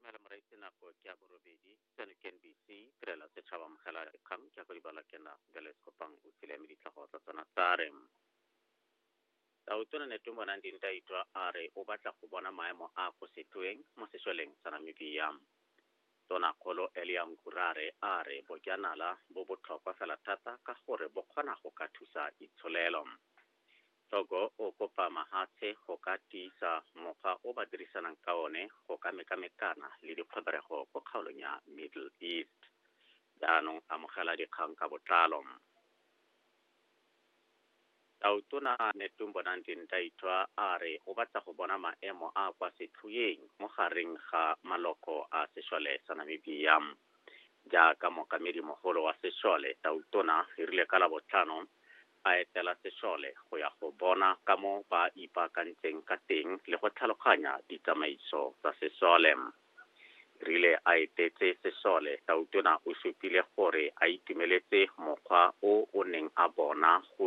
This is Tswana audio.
Dumela moraitse, nako ke ya borobedi. Seno ke NBC, tirelo ya setšhaba. Amogela dikgang ke ya go di bala ke na Beles Kopang o tsile mme ditlhogo tsa tsona tsa re: Tautona Netumbo Nandi-Ndaitwah a re o batla go bona maemo a go setweng mo sešoleng sa Namibia. Tonakgolo Elia Ngurare a re bojanala bo botlhokwa fela thata ka gore bo kgona go ka thusa itsholelo. Togo o kopa mahatshe go ka tiisa mokgwa o ba dirisanang ka one go ka mekamekana le dikgweberego ko kgaolong ya Middle East. Jaanong amogela dikgang ka botlalo. Tautona Netumbo Nandi-Ndaitwah a re o batla go bona maemo a kwa setlhoeng mo gareng ga maloko a sešole sa Namibia. Jaaka mookamedi mogolo wa sešole, Tautona e rile ka Labotlhano a etela sešole go ya go bona ka mo ba ipaakantseng ka teng le go tlhaloganya ditsamaiso tsa sešole. Rile a etetse sešole, Tautona o supile gore a itumeletse mokgwa o o neng a bona go